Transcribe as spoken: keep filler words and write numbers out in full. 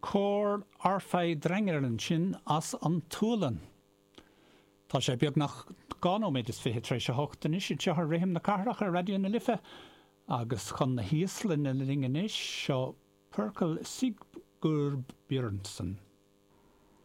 Cór Arfveidrængir ansin as an tSualainn. Tá sé beagnach dhá nóiméad is fiche tar éis a hocht anois anseo ar Rithim na Cathrach ar Raidió na Life agus chun na hÍoslainne linn anois seo Pörköll Sigurbjörnsson.